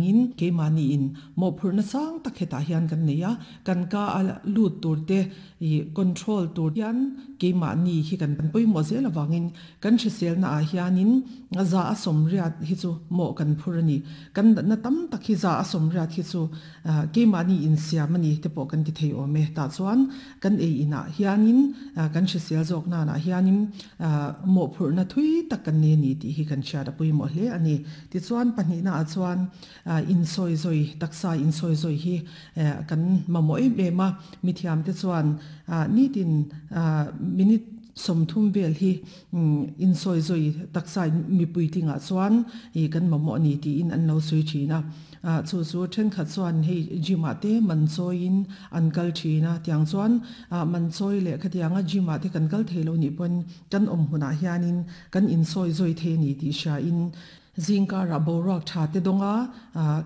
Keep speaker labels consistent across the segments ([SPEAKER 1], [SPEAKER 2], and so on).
[SPEAKER 1] angin keimahniin mawhphurhna sang tak hetah hian kan nei a, kan ka a lut tur te ih control tur hian keimahni hi kan pawimawh zel avangin kan hriselna ah hianin za a sawmriat hi chu mawh kan phur a ni. Kan natna tam tak hi za a sawmriat hi chu keimahni insiam a ni te pawh kan ti thei awm e. Tah chuan kan ei inah hianin kan hrisel zawk nanah hianin mawhphurhna thui tak kan nei a ni tih hi kan hriat a pawimawh hle a ni. Tichuan pahnihna ah chuan insawi zawi, taksa insawi zawi hi kan mamawh em em a, mithiamte chuan nitin minute 30 vel hi insawi zawi taksa mipui tlingah chuan kan mamawh a ni tiin an lo sawi thin a. Chu chu thenkhat chuan hei gym ah te man chawiin an kal thin a, tiang chuan man chawi leh khatianga gym ah te kan kal thei lo nih pawn kan awm hmunah hianin kan insawi zawi thei a ni tih hriain Zingkarah boruak tha te dawnga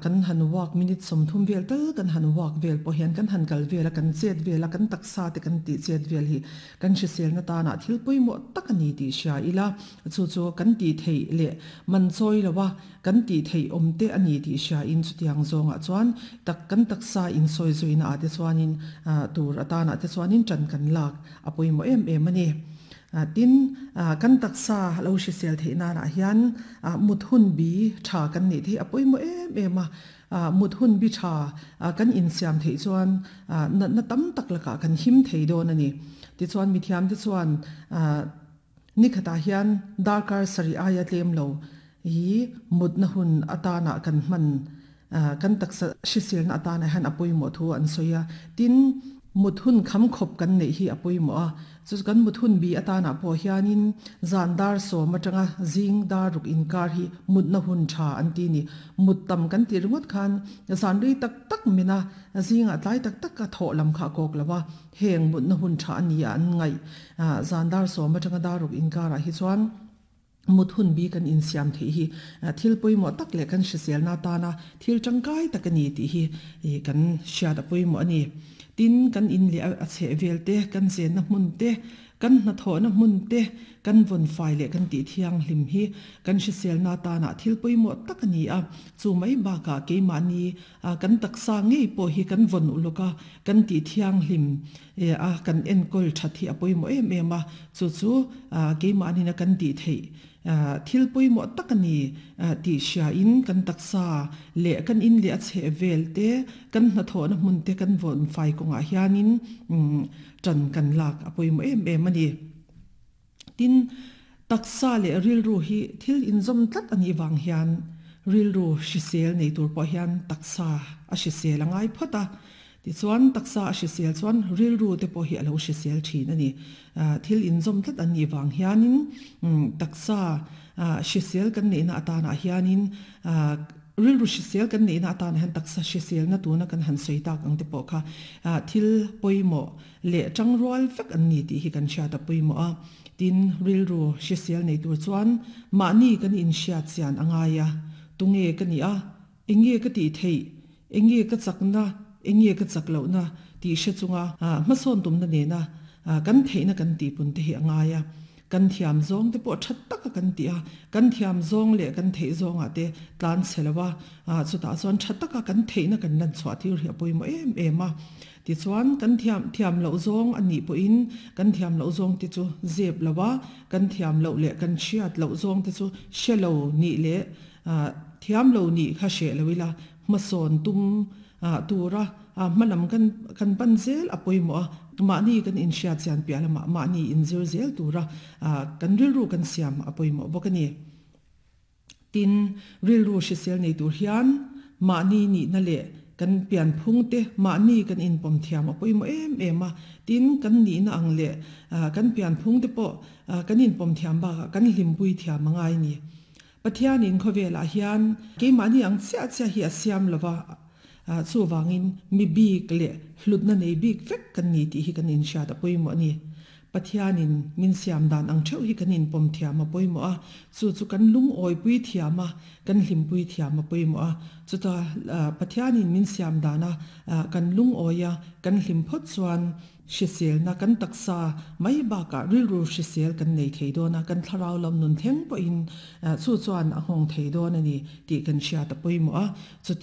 [SPEAKER 1] kan han walk minute 30 vel tal kan han walk vel pawh hian kan han kal vel a, kan chet vel a, kan taksa te kan tih chet vel hi kan hriselna tanah thil pawimawh tak a ni tih hria ila, chu chu kan tih theih leh man chawi lo a, kan tih theih awm te a ni tih hria in chutiang zawngah chuan tak kan taksa insawi zuina ah te chuanin tur atanah te chuanin tan kan lak a pawimawh em em a ni. Tin, kan taksa lo hrisel theih nanah hian mut hun bi tha kan neih theih a pawimawh em em a. Mut hun bi tha kan insiam theih chuan natna tam tak lakah kan him thei dawn a ni. Tichuan mithiamte chuan nikhatah hian darkar sarih aia tlem lo hi mutna hun atana kan hman kan taksa hriselna atana hian a pawimawh thu an sawi a. Tin, mut hun kham khawp kan neih hi a pawimawh a. Chu chu kan mut hun bi atana pawh hianin zan dar 10 atanga zing dar 6 inkar hi mutna hun tha an ti ni. Mut tam kan tih ringawt khan zan rei tak tak min a, zingah tlai tak tak a thawh lam kha a kawk lo a. Heng mutna hun tha a ni a an ngaih. Zan dar 10 atanga dar 6 inkarah hi chuan mut hun bi kan insiam theih hi thil pawimawh tak leh kan hriselna atana thil tangkai tak a ni tih hi kan hriat a pawimawh a ni. Tin, kan in leh a chheh vel te, kan chenna hmun te, kan hnathawhna hmun te, kan vawn fai leh kan tih thianghlim hi kan hriselna atana thil pawimawh tak a ni a. Chu mai bakah keimahni kan taksa ngei pawh hi kan vawn uluk a, kan tih thianghlim a, kan enkawl that hi a pawimawh em em a, chu chu keimahnin a kan tih theih thil pawimawh tak a ni tih hriain kan taksa leh kan in leh a chheh vel te, kan hnathawhna hmun te kan vawn fai kawngah hianin tan kan lak a pawimawh em em a ni. Tin, taksa leh rilru hi thil inzawm tlat a nih vang hian rilru hrisel nei tur pawh hian taksa a hrisel a ngai phawt a. Tichuan, taksa a hrisel chuan rilru te pawh hi a lo hrisel thin a ni. Thil inzawm tlat an nih vang hianin taksa hrisel kan neihna atanah hianin Rilru hrisel kan neihna atan hian taksa hriselna tuna kan han sawi tak ang te pawh kha thil pawimawh leh tangrual vek an ni tih hi kan hriat a pawimawh a. Tin, rilru hrisel nei tur chuan mahni kan inhriat chian a ngai a, tunge ka nih a, enge ka tih theih, enge ka chakna, enge ka chak lohna tih hre chunga hmasawn tumna nena kan theihna kan tihpun te hi a ngai a. Kan thiam zawng te pawh tha taka kan tih a, kan thiam zawng leh kan theih zawngah te tlan chhe lo a, chutah chuan tha taka kan theihna kan lan chhuah tir hi a pawimawh em em a. Tichuan kan thiam thiam loh zawng a nih pawhin kan thiam loh zawng te chu zep lo a, kan thiam loh leh kan hriat loh zawng te chu hre lo nih leh thiam lo nih kha hreh lo ila hmasawn tum tura hmalam kan kan pan zel a pawimawh a, mahni kan inhriat chian piah lamah mahni inzir zel tura kan rilru kan siam a pawimawh bawk a ni. Tin, rilru hrisel nei tur hian mahni nihna leh kan pianphung te mahni kan inpawm thiam a pawimawh em em a, tin, kan nihna ang leh kan pianphung te pawh kan inpawm thiam bakah kan hlimpui thiam a ngai a ni. Pathianin khawvelah hian keimahni ang chiah chiah hi a siam lo va, chuvangin mi bik leh hlutna nei bik vek kan ni tih hi kan inhriat a pawimawh a ni. Pathianin min siam dan ang theuh hi kan inpawm thiam a pawimawh a, chu chu kan lungawipui thiam a, kan hlimpui thiam a pawimawh a. Chuta Pathianin min siam dana kan lungawi a, kan hlim phawt chuan, Hriselna kan taksa mai bakah rilru hrisel kan nei thei dawn a, kan thlarau lam nun thleng pawhin chu chuan a nghawng thei dawn a ni tih kan hriat a pawimawh a. Chuti.